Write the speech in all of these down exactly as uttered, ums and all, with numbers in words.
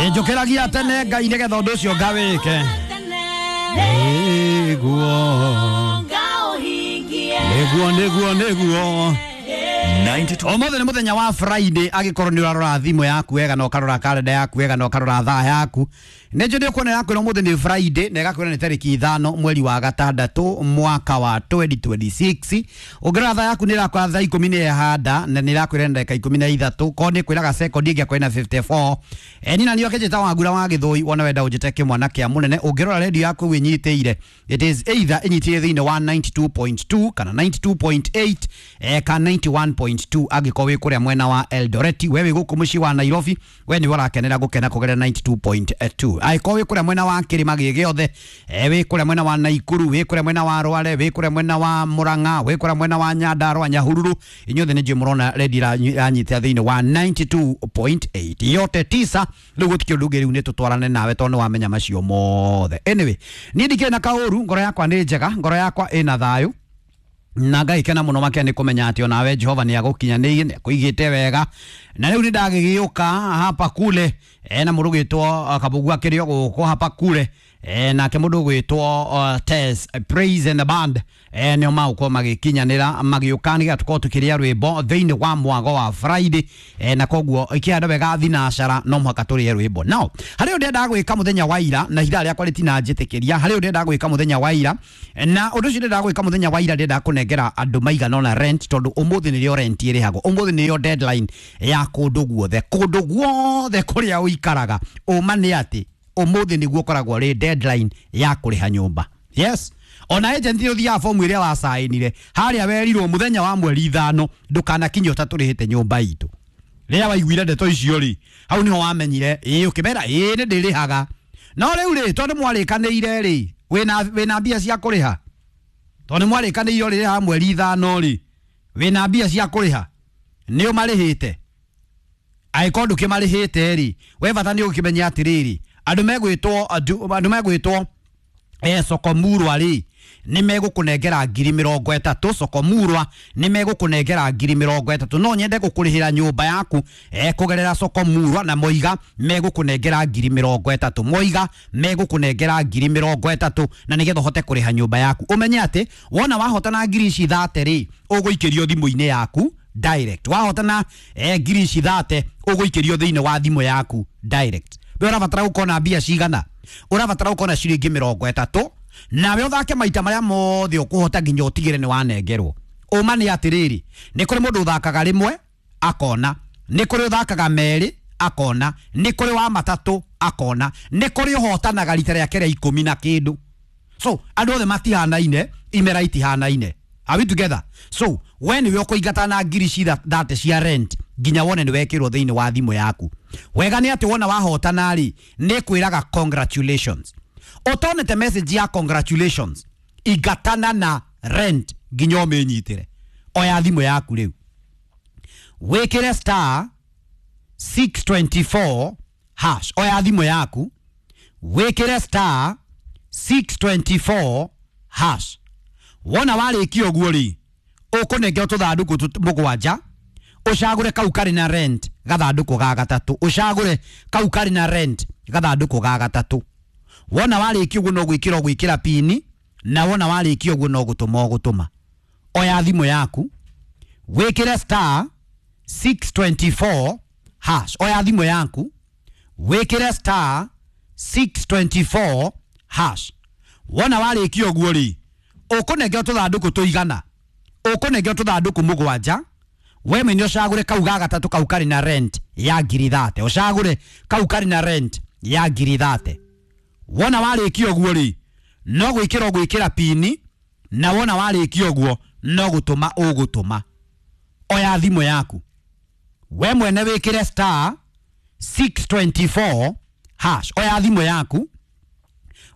Njũkĩragia tene Ngai nĩgetha ũndũ ũcio ngawĩke. Nĩguo nĩguo nĩguo nĩguo. Ũmũthĩ nĩ mũthenya wa Friday, angĩkorwo nĩ ũrarora thimũ yaku wega na ũkarora kalenda yaku wega na ũkarora thaa yaku, nĩ njũĩ nĩ ũkuona yakwĩra ũmũthĩ nĩ Friday na ĩgakwĩra nĩ tarĩki ithano mweri wa gatandatũ mwaka wa twenty twenty-six. Ũngĩrora thaa yaku nĩ ĩrakwĩra thaa ikũmi nĩ ĩhanda na nĩ ĩrakwĩra nĩ ndagĩka ikũmi na ithatũ, korwo nĩ ĩkwĩraga sekondi ĩngĩ akwĩra na fifty-four. E, niĩ na niĩ ũkĩnjĩta Wangura wa Gĩthũi, wona wenda ũnjĩte kĩmwana kĩa mũnene. Ũngĩrora redio yaku wĩnyitĩire, it is either ĩnyitĩire thĩinĩ wa ninety-two point two kana ninety-two point eight eh, kana ninety-one point two angĩkorwo wĩ kũrĩa mwena wa Eldoret. We wĩ gũkũ mũciĩ wa Nairobi, we nĩwe ũrakenera gũkena kũgerera ninety-two point two. Angĩkorwo wĩ kũrĩa mwena wa kĩrĩma gĩ gĩothe, eh, wĩ kũrĩa mwena wa Naikuru, wĩ kũrĩa mwena wa Rware, wĩ kũrĩa mwena wa Murang'a, wĩ kũrĩa mwena wa Nyandarua, Nyahururu, inyuothe nĩ njũĩ mũrona redio ĩranyitĩra thĩinĩ wa ninety-two point eight. Yote tisa rĩu gũtikĩ ũndũ ũngĩ, rĩu nĩ tũtwarane nawe tondũ nĩ wamenya macio mothe. Anyway, niĩ ndikĩrĩ na kaũru, ngoro yakwa nĩ njega, ngoro yakwa ĩna thayũ na Ngai kena muno makia nĩ kũmenya atĩ onawe Jehova nĩ agũkinyanĩirie, nĩ akũigĩte wega. Na rĩu nĩ ndagĩgĩũka hapa kule e, na mũndũ ũgwĩtwo Kabugu akĩrĩ o gũkũ hapa kule e, nake mũndũ ũgwĩtwo uh, Tess Praise and the Band e, nĩo magũkorwo magĩkinyanĩra magĩũka nĩgetha tũkorwo tũkĩrĩa rwĩmbo thĩinĩ wa mwago wa Friday e, na koguo ikĩhanda wega thinacara no mũhaka tũrĩe rwĩmbo. Now harĩ ũndũ ndendaga gwĩka mũthenya wa ira na ithaa rĩakwa rĩtinanjĩtĩkĩria, harĩ ũndũ ndendaga gwĩka mũthenya wa ira na ũndũ ũcio ndendaga gwĩka mũthenya wa ira, ndendaga kũnengera andũ maigana ũna rent tondũ ũmũthĩ nĩrĩo rent ĩrĩhagwo, ũmũthĩ nĩrĩo deadline ya kũndũ guothe, kũndũ guothe kũrĩa ũikaraga. Ũma nĩ atĩ ũmũthĩ nĩguo ũkoragwo rĩ deadline ya kũrĩha nyũmba. Yes, ona agent nĩ ũthiaga fomu ĩrĩa wacainire harĩa werirwo mũthenya wa mweri ithano ndũkanakinye ũtatũrĩhĩte nyũmba itũ. Rĩrĩa waiguire ndeto icio rĩ, hau nĩho wamenyire ĩĩ, ũkĩmera ĩĩ nĩ ndĩrĩhaga. No rĩu rĩ, tondũ mwarĩkanĩire rĩ, wĩna wĩna mbia cia kũrĩha, tondũ mwarĩkanĩire ũrĩrĩhaga mweri ithano rĩ, wĩna mbia cia kũrĩha, nĩ ũmarĩhĩte? Angĩkorwo ndũkĩmarĩhĩte rĩ, we bata nĩ ũkĩmenya atĩrĩrĩ, andũ megwĩtwo andũ megwĩtwo eh, Sokomurwa rĩ nĩ megũkũnengera ngiri mĩrongo ĩtatũ. Sokomurwa nĩ megũkũnengera ngiri mĩrongo ĩtatũ. No nyende gũkũrĩhĩra nyũmba yaku eh, kũgerera Sokomurwa, na moiga megũkũnengera ngiri mĩrongo ĩtatũ, moiga megũkũnengera ngiri mĩrongo ĩtatũ na nĩgetha ũhote kũrĩha nyũmba yaku. Ũmenye atĩ wona wahotana ngiri ici thate rĩ, ũgũikĩrio thimũ-inĩ yaku direct. Wahotana eh, ngiri ici thate ũgũikĩrio thĩinĩ wa thimũ yaku direct. We ũrabatara gũkorwo na mbia cigana? Ũrabatara gũkorwo na ciringi mĩrongo ĩtatũ, nawe ũthake maita marĩa mothe ũkũhota nginya ũtigĩre nĩ wanengerwo. Ũma nĩ atĩrĩrĩ, nĩ kũrĩ mũndũ ũthakaga rĩmwe akona, nĩ kũrĩ ũthakaga merĩ akona, nĩ kũrĩ wa matatũ akona, nĩ kũrĩ ũhotanaga rita rĩake rĩa ikũmi na kĩndũ. So andũ othe matihanaine, imera itihanaine. Are we together? So we nĩwe ũkũingata na ngiri ci thate cia rent nginya wone nĩ wekĩrwo thĩinĩ wa thimũ yaku. Wega nĩ atĩ wona wahotana rĩ, nĩ kwĩraga congratulations. Ũtonete message ya congratulations, ingatana na rent nginya ũmĩnyitĩre. Oya thimũ yaku rĩu, wĩkĩre star six twenty-four hash. Oya thimũ yaku, wĩkĩre star six twenty-four hash. Wona warĩkia ũguo rĩ, ũkũnengerwo tũthandũkũ mũgwanja, ũcagũre kau karĩ na rent gathandũkũ ga gatatũ, ũcagũre kau karĩ na rent gathandũkũ ga gatatũ. Wona warĩkia ũguo no gwĩkĩra ũgwĩkĩra pini, na wona warĩkia ũguo no gũtũma ũgũtũma. Oya thimũ yaku, wĩkĩre star six twenty-four hash. Oya thimũ yaku, wĩkĩre star six twenty-four hash. Wona warĩkia ũguo rĩ, ũkũnengerwo tũthandũkũ tũigana, ũkũnengerwo tũthandũkũ mũgwanja. We mwene ũcagũre kau ga gatatũ kau karĩ na rent ya ngiri thate, ũcagũre kau karĩ na rent ya ngiri thate. Wona warĩkia ũguo rĩ, no gwĩkĩra ũgwĩkĩra pini, na wona warĩkia ũguo no gũtũma ũgũtũma. Oya thimũ yaku, we mwene wĩkĩre star six twenty-four hash. Oya thimũ yaku,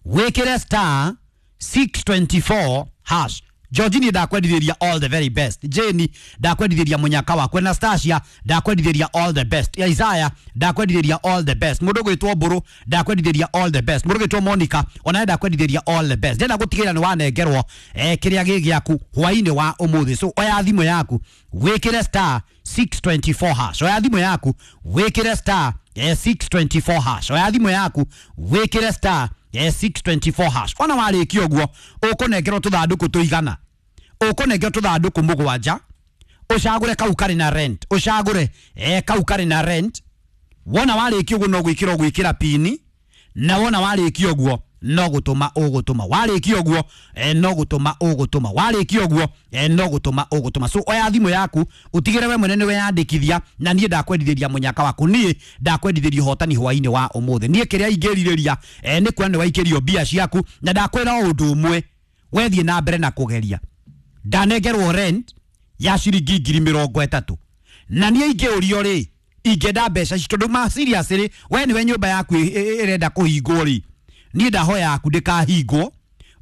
wĩkĩre star six twenty-four hash. Georgini ndakwendithĩria all the very best. Jane ndakwendithĩria mũnyaka wakwa. Anastasia ndakwendithĩria all the best. Isaiah ndakwendithĩria all the best. Mũndũ gwĩtwo Mbũrũ ndakwendithĩria all the best. Mũndũ gwĩtwo Monica onawe ndakwendithĩria all the best. Ndenda gũtigĩrĩra nĩ wanengerwo eh, kĩrĩa gĩ gĩaku hwainĩ wa ũmũthĩ. So oya thimũ yaku wĩkĩre star six twenty-four hash. Oya thimũ yaku wĩkĩre star eh, six twenty-four hash. Oya thimũ yaku wĩkĩre star eh, six twenty-four hash. Wona warĩkia ũguo ũkũnengerwo tũthandũkũ tũigana, ũkũnengerwo tũthandũkũ mũgwanja, ũcagũre kau karĩ na rent, ũcagũre eh, kau karĩ na rent. Wona warĩkia ũguo no gwĩkĩra ũgwĩkĩra pini, na wona warĩkia ũguo no gũtũma ũgũtũma, warĩkia ũguo eh, no gũtũma ũgũtũma, warĩkia ũguo eh, no gũtũma ũgũtũma. So oya thimũ yaku ũtigĩre we mwene nĩwe yandĩkithia, na niĩ ndakwendithĩria mũnyaka waku, niĩ ndakwendithĩria ũhotani hwainĩ wa ũmũthĩ. Niĩ kĩrĩa ingĩrirĩria eh, nĩ kuona nĩ waikĩrio mbia ciaku, na ndakwĩra o ũndũ ũmwe, wethiĩ na mbere na kũgeria. Ndanengerwo rent ya ciringi ngiri mĩrongo ĩtatũ, na niĩ ingĩũrio rĩ, ingĩenda mbeca ici tondũ ma serious rĩ, we nĩwe nyũmba yaku ĩrenda kũhingwo rĩ, niĩ ndahoya yaku ndĩkahingwo,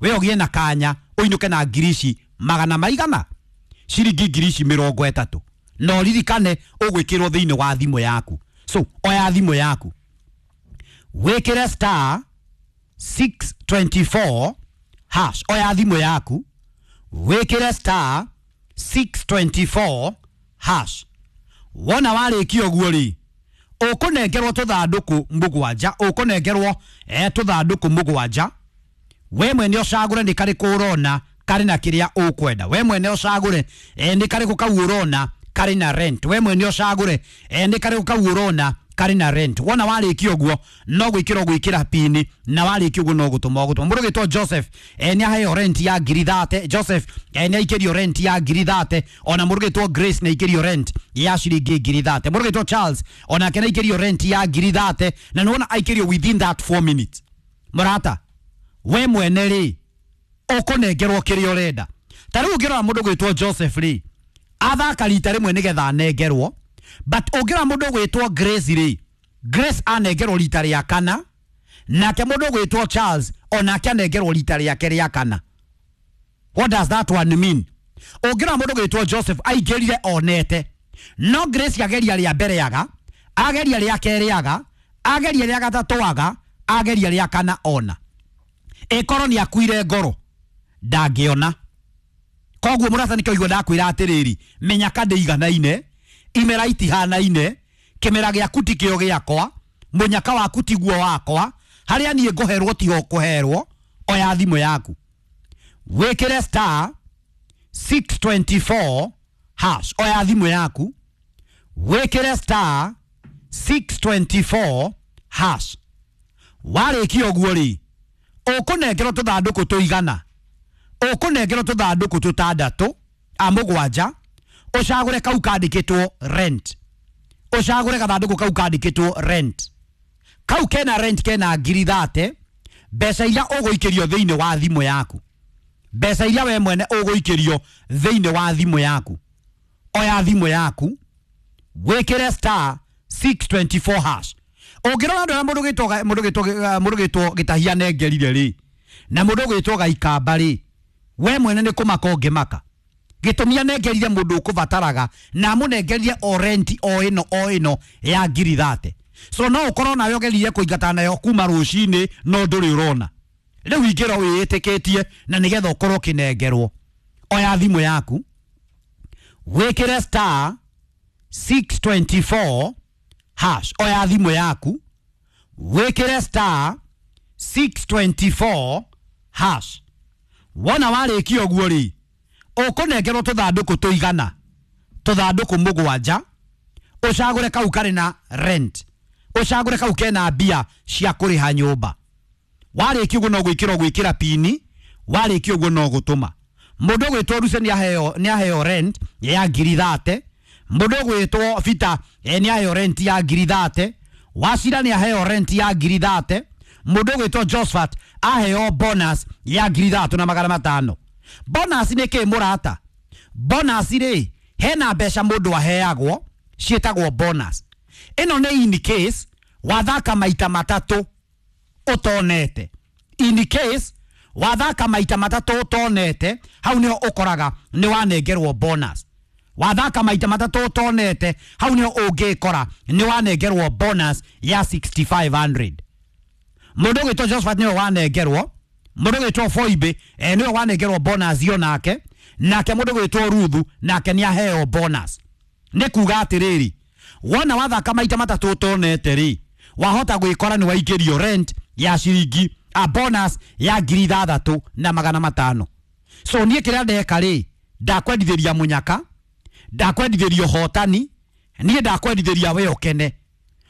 we ũgĩe na kanya ũinũke na ngiri ici magana maigana, ciringi ngiri ici mĩrongo ĩtatũ, na ũririkane ũgwĩkĩrwo thĩinĩ wa thimũ yaku. So oya thimũ yaku wĩkĩre star six twenty-four hash. Oya thimũ yaku wĩkĩre star six twenty-four hash. Wona warĩkia ũguo rĩ, ũkũnengerwo tũthandũkũ mũgwanja, ũkũnengerwo eh, tũthandũkũ mũgwanja. We mwene ũcagũre nĩ karĩkũ ũrona karĩ na kĩrĩa ũkwenda, we mwene ũcagũre eh, nĩ karĩkũ kau ũrona karĩ na rent, we mwene ũcagũre eh, nĩ karĩkũ kau ũrona karĩ na rent. Wona warĩkia ũguo no gwĩkĩra ũgwĩkĩra pini, na warĩkia ũguo no gũtũma ũgũtũma. Mũndũ ũgĩtwo Joseph eh, nĩ aheo rent ya ngiri thate. Joseph eh, nĩ aikĩrio rent ya ngiri thate. Ona mũndũ ũgĩtwo Grace nĩ aikĩrio rent ya ciringi ngiri thate. Mũndũ ũgĩtwo Charles onake nĩ aikĩrio rent ya ngiri thate, na nĩwona aikĩrio within that four minutes. Mũrata, we mwene rĩ, ũkũnengerwo kĩrĩa ũrenda. Ta rĩu ũngĩrora mũndũ ũgwĩtwo Joseph rĩ, athaka rita rĩmwe nĩgetha anengerwo, but ũngĩrora mũndũ ũgwĩtwo Grace rĩ, Grace anengerwo rita rĩa kana, nake mũndũ ũgwĩtwo Charles onake anengerwo rita rĩake rĩa kana. What does that one mean? Ũngĩrora mũndũ ũgwĩtwo Joseph aingĩrire onete, no Grace ageria rĩa mbere aga, ageria rĩa kerĩ aga, ageria rĩa gatatũ aga, ageria rĩa kana ona. Ĩkorwo nĩ akuire ngoro ndangĩona. Koguo mũrata nĩkĩo igua ndakwĩra atĩrĩrĩ, menya ndĩiganaine, imera itihanaine, kĩmera gĩaku ti kĩo gĩakwa, mũnyaka waku tiguo wakwa, harĩa niĩ ngũherwo tiho ũkũherwo. Oya thimũ yaku wĩkĩre star six twenty-four hash. Oya thimũ yaku wĩkĩre star six twenty-four hash. Warĩkia ũguo rĩ, ũkũnengerwo tũthandũkũ tũigana, ũkũnengerwo tũthandũkũ tũtandatũ a mũgwanja, ũcagũre kau kandĩkĩtwo rent, ũcagũre gathandũkũ kau kandĩkĩtwo rent. Kau kena rent kena ngiri thate, mbeca iria ũgũikĩrio thĩinĩ wa thimũ yaku, mbeca iria we mwene ũgũikĩrio thĩinĩ wa thimũ yaku. Oya thimũ yaku wĩkĩre star six twenty-four hash. Ũngĩrora andũ arĩa mũndũ ũgĩtwo mũndũ ũgĩtwo mũndũ ũgĩtwo Gĩtahia nengerire rĩ, na mũndũ ũgĩtwo Gaikamba rĩ, we mwene nĩ kũmaka ũngĩmaka. Gĩtũmi anengerire mũndũ ũkũbataraga, na amũnengerire o rent o ĩno o ĩno ya ngiri thate. So no ũkorwo nawe ũgeririe kũingata nayo kuma rũcinĩ, no ndũrĩ ũrona. Rĩu ingĩrwo wĩĩtĩkĩtie na nĩgetha ũkorwo ũkĩnengerwo. Oya thimũ yaku wĩkĩre star six twenty-four hash. Oya thimũ yaku wĩkĩre star six twenty-four hash. Wona warĩkia ũguo rĩ, ũkũnengerwo tũthandũkũ tũigana, tũthandũkũ mũgwanja, ũcagũre kau karĩ na rent, ũcagũre kau kena mbia cia kũrĩha nyũmba. Warĩkia ũguo no gwĩkĩra ũgwĩkĩra pini, warĩkia ũguo no gũtũma. Mũndũ ũgwĩtwo Ruse nĩ aheo nĩ aheo rent ya ngiri thate, mũndũ ũgwĩtwo Bita nĩ aheo rent ya ngiri thate, Wacira nĩ aheo rent ya ngiri thate, mũndũ ũgwĩtwo Josephat aheo bonus ya ngiri ithatũ na magana matano. Bonus nĩ kĩ mũrata? Bonus rĩ, hena mbeca mũndũ aheagwo ciĩtagwo bonus. Ĩno nĩ in case wathaka maita matatũ ũtonete. In case wathaka maita matatũ ũtonete, hau nĩho ũkoraga nĩ wanengerwo bonus. Wathaka maita matatũ ũtonete, hau nĩho ũngĩkora nĩ wanengerwo bonus ya sixty-five hundred. Mũndũ ũgwĩtwo Josephat nĩwe wanengerwo, mũndũ ũgwĩtwo Foibe eh, nĩwe wanengerwo bonus yo nake, nake mũndũ ũgwĩtwo Ruthu nake nĩ aheo bonus. Nĩ kuga atĩrĩrĩ, wona wathaka maita matatũ ũtonete rĩ, Wahota gwikora ni waikĩrio rent ya ciringi a bonus ya ngiri ithathatũ na magana matano. So niĩ kĩrĩa ndeka rĩ, ndakwendithĩria mũnyaka, ndakwendithĩria ũhotani, niĩ ndakwendithĩria we ũkene.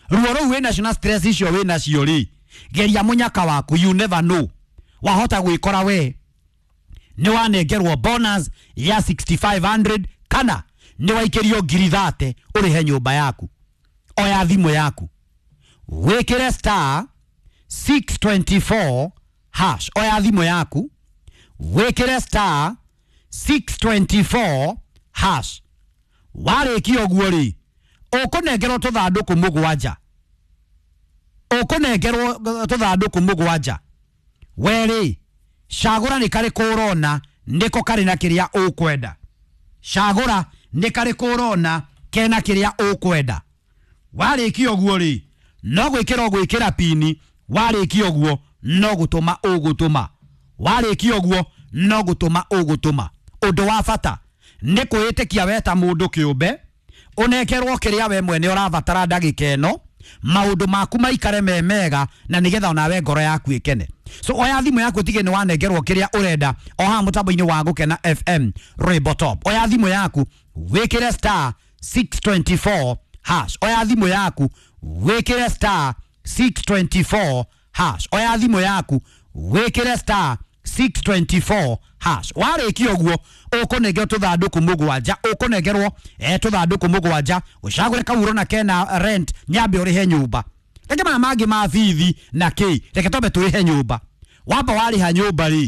Ruo rũu wĩnacio na stress icio wĩnacio rĩ, geria mũnyaka waku, you never know. Wahota gwikora we nĩ wanengerwo bonus ya six thousand five hundred kana nĩ waikĩrio ngiri thate ũrĩhe nyũmba yaku. Oya thimũ yaku wĩkĩre star six twenty-four hash. Oya thimũ yaku wĩkĩre star six twenty-four hash. Warĩkia ũguo rĩ, ũkũnengerwo tũthandũkũ mũgwanja, ũkũnengerwo tũthandũkũ mũgwanja. We rĩ, cagũra nĩ karĩkũ ũrona nĩko karĩ na kĩrĩa ũkwenda. Cagũra nĩ karĩkũ ũrona kena kĩrĩa ũkwenda. Warĩkia ũguo rĩ, no gwĩkĩra ũgwĩkĩra pini. Warĩkia ũguo no gũtũma ũgũtũma. Warĩkia ũguo no gũtũma ũgũtũma. Ũndũ wa bata nĩ kwĩĩtĩkia we ta mũndũ kĩũmbe, ũnengerwo kĩrĩa we mwene ũrabatara ndagĩka ĩno, maũndũ maku maikare me mega na nĩgetha onawe ngoro yaku ĩkene. So oya thimũ yaku ũtige nĩ wanengerwo kĩrĩa ũrenda o haha mũtambo-inĩ wa Gũkena F M Rainbow Top. Oya thimũ yaku wĩkĩre star six twenty-four hash. Oya thimũ yaku wĩkĩre star six twenty-four hash. Oya thimũ yaku wĩkĩre star six twenty-four hash. Warĩkia ũguo ũkũnengerwo tũthandũkũ mũgwanja, ũkũnengerwo eh tũthandũkũ mũgwanja, ũcagũre kau ũrona kena rent, nyambe ũrĩhe nyũmba. Reke maya mangĩ ma bithi na kĩ, reke twambe tũrĩhe nyũmba. Wamba warĩha nyũmba rĩ,